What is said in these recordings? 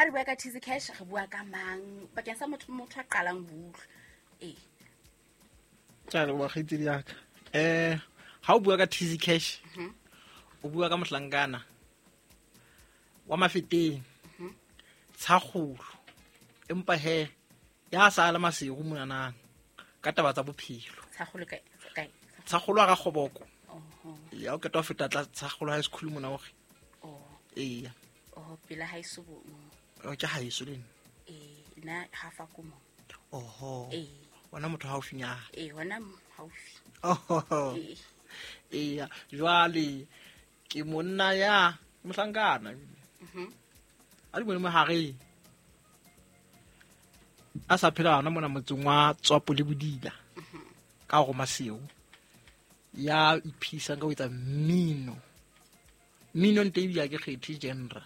Ha re bua ka Tizzy Cash, re bua ka mang bakeng sa motho a qalang ho utlwa? Ee. Ke a leboha kgaitsedi ya ka. Ha o bua ka Tizzy Cash, o bua ka mohlankana wa Mafeteng, tshakgolo, empa he ya sa le masego monanang ka taba tsa bophelo. Tshakgolo kae? Kae? Tshakgolo a ga kgoboko. Oho. Ya o qeta ho feta tla tshakgolo high school mona hore. Oh. Eya. Oh, pela haeso bo. Oh, ke haeso le nna. Eh, nna ha fa ko mo. Oho. Eh. Wona motho haufinyana. Eh, hona haufi. Oho. Eh. Eya, jwale ke monna ya mohlankana. A di bone mohareng. A sa phela hona mona motseng wa Tswapo le Bodila. Ka go Maseo. Ya iphisang ka ho etsa mmino. Mmino nte ebile ha ke kgethe genre.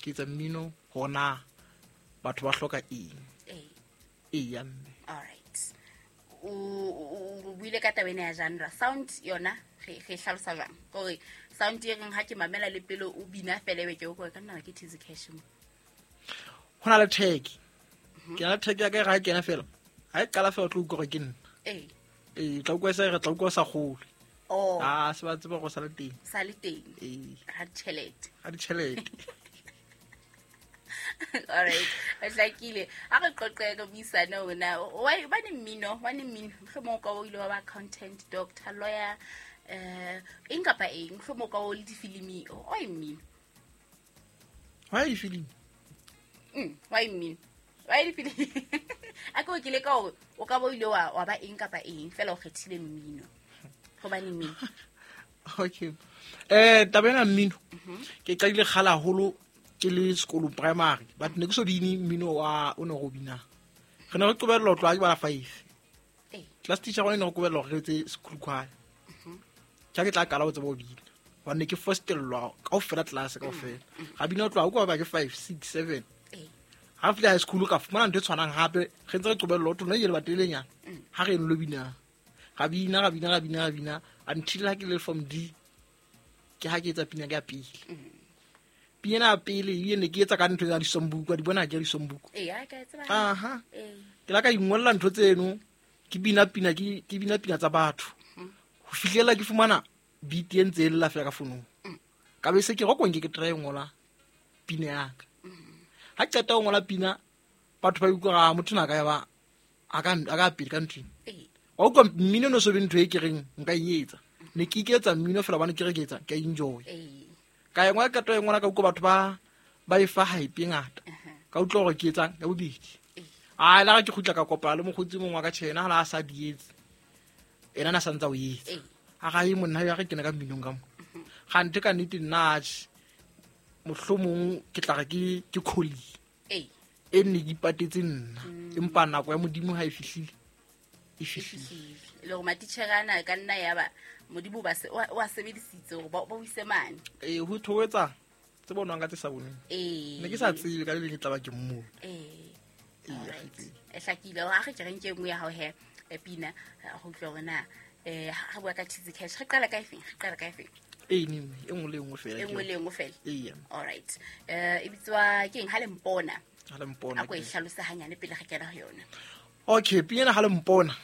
Ke etsa mmino hona batho ba hloka eng. Ee. Eya mme. All right. O buile ka taba ena ya genre. Sound yona re hlalosa jwang? Hore sound e reng ha ke mamela le pele o bina fela ebe ke o ka nna ke Tizzy Cash mo. Ho na le tag. Ke na le tag ya ka e re ha e kena fela. Ha e qala fela o tlo utlwa hore ke nna. Ee. Ee, tla utlwa e sa re tla utlwa sa kgolwe. Oh. Ah, se ba tseba gore sa le teng. Sa le teng. Ee. Ha ditjhelete. Ha ditjhelete. All right. O hlakile. Ha re qoqe re buisane hore na why ba ne mmino, ba ne mmino. Mohlomong o ka o ile wa ba accountant, doctor, lawyer, eng kapa eng, mohlomong o ka o le difilimi, why mmino? Why difilimi? Why mmino? Why difilimi? A ke o kile ka hore o ka ba o ile wa ba eng kapa eng, fela o kgethile mmino. Hobane mmino. Okay. Taba ena mmino. Ke qadile kgale haholo ke le sekolong primary, but ne ke so bine mmino wa o ne go bina. Re ne re qobellwa ho tloha ke bala 5. Ee. Class teacher rona e ne re qobellwa hore re etse school choir. Ke ha ke tla qala ho tseba ho bina. Hobane ne ke fostellwa kaofela class kaofela. Ga bina ho tloha ho kwa ba ke 5, 6, 7. Ee. Ha fihla high school ka fumana ntho e tshwanang hape, re ntse re qobellwa ho thwe, no e le batelenyana. Ha re lo bina. Ga bina, ga bina, ga bina, ga bina until ha ke le form D. Ke ha ke etsa pina ka pele. Pina ya pele e ne ke etsa ka ntho ya disombuku, di bona ke disombuku. Ee, ha ke tseba. Aha. Ee. Ke la ka ingolla ntho tseno, ke bina pina, ke bina pina tsa batho. Ho fihlela ke fumana beat e ntse e lla fela ka founung. Ka be se ke rokong ke try ngola pina ya ka. Ha ke qeta ho ngola pina, batho ba utlwa ga motho na ka ya ba a ka pele ka ntho. Ee. Wa utlwa mmino no so be ntho e ke reng nka e etsa. Ne ke iketsa mmino fela hobane ke re ke etsa, ke a enjoy. Ee. Ka e ngola qeto e ngola ka utlwa batho ba e fa hype e ngata. Ka utlwa hore ke etsang ya bobedi. Ee. A la ke kgutla ka kopana le mokgotsi mongwe wa ka tjhena, ha la sa di etse. Ena na sa ntsa o etsa. Ee. A ga e monna ya re kena ka mminong ka mo. Gante ka nnete nna atjhe, mohlomong ke tla re ke calling. Ee. E nne ke ipatetse nna. Empa nako ya Modimo ha e fihlile, e fihlile. E fihlile. Le hore matitjhere ana ka nna ya ba Modimo ba se, wa sebedisitse hore ba o ise mane. Ee, ho thoetsa tse bonwang ka tse sa bonweng. Ee. Ne ke sa tsebe ka le leng ke tla ba ke mmone. Ee. Ee, All right. kgaitsedi. E hlakile. Ha re ke re nke e nngwe ya hao he, pina, ho utlwa hore na, ha re bua ka Tizzy Cash, re qala ka efeng? Re qala ka efeng? Ee, ne, ne, e nngwe le e nngwe fela E ke nngwe le e nngwe fela. Ee. All right. E bitswa ke eng? Ha le mpona. Ha le mpona A ko e ke- hlalose hanyane pele re kena ho yona. Okay, pina ena ha le mpona.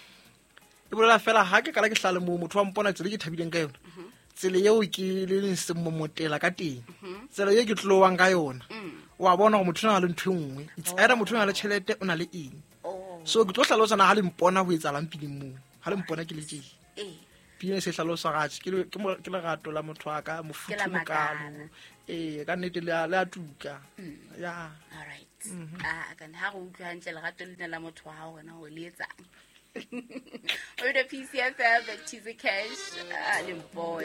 E bolela fela ha ke qala ke hlale moo, motho wa mpona tsela e ke thabileng ka yona. Tsela eo ke le leng semomotela ka teng. Tsela eo ke tlowang ka yona. Wa bona hore motho o na le ntho e nngwe. It's either motho o na le tjhelete, o na le eng. Oh. So ke tlo hlalosa na ha le mpona ho etsahalang pineng moo. Ha le mpona ke le tje. Ee. Pina e se hlalosa ratjhe, ke lerato la motho wa ka, mofuthu Ke la mokalo. makala. Ee, ka nnete le a tuka. Ya. All right. Ah, ka ha re utlwa hantle lerato lena la motho wa hao hona hore le etsang. O be PCFM, Tizzy Cash, le mpona.